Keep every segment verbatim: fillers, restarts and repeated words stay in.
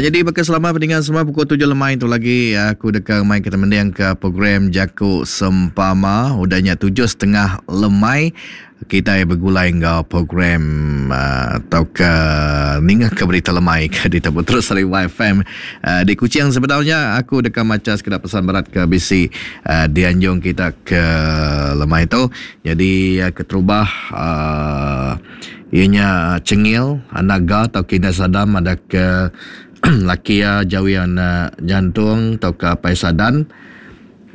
Jadi baka selama pendengar semua pukul tujuh lemai tu lagi aku deka mai kita mending ke program Jaku Sempama. Udahnya tujuh setengah lemai kita begulai enggau program uh, atau ke ninga ke berita lemai ke ditabu terus dari Y F M uh, di Kuching. Sebenarnya aku deka maca sekeda pesan berat ke bisi uh, dianjung kita ke lemai tu. Jadi uh, keterubah uh, ianya Cengil Anaga atau Kina Sadam ada ke laki ya jawian uh, jantung atau ke Apai Sadan.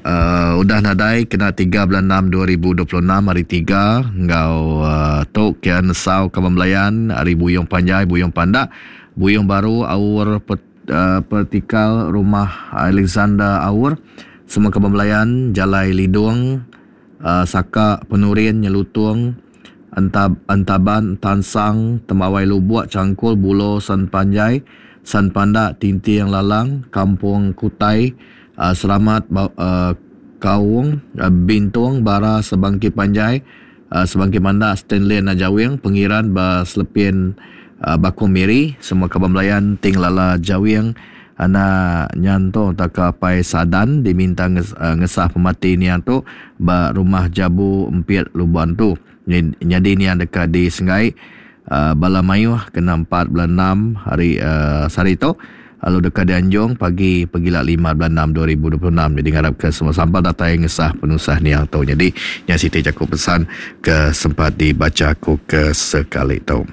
Uh, udah nadai kena tiga bulan enam dua ribu dua puluh enam hari tiga ngau uh, tu kian nesau kaban belayan hari Buyong Panjai, Buyong Pandak, Buyong Baru, Aur pet, uh, Pertikal Rumah Alexander Aur, semua kaban belayan Jalai Lidung, uh, Saka Penurin Nyelutung, Entab, Entaban Tansang, Tembawai Lubuk, Cangkul, Bulo, San Panjai, San Pandak, Tinting Lalang, Kampung Kutai, Uh, Selamat uh, Kaung, uh, Bintung, Bara, Sebangki Panjai, uh, Sebangki Mandak, Stanley Najawing, Pengiran, Ba Selepin, uh, Bakung Miri, semua kaban belayan Ting Lala Jawing, anak nyanto taka Pai Sadan diminta nges, uh, ngesah pemati niang tu ba rumah Jabu Empiet Lubuan tu. Jadi niang dekat di Sengai uh, bala mayuh kena empat bulan enam hari uh, sehari tu. Lalu dekat dianjung pagi pegila lima bulan enam dua ribu dua puluh enam. Jadi ngarap ke semua sampah datai ngesah penusah niang tu. Jadi yang Siti Jaku pesan ke sempat dibaca aku ke sekali tu.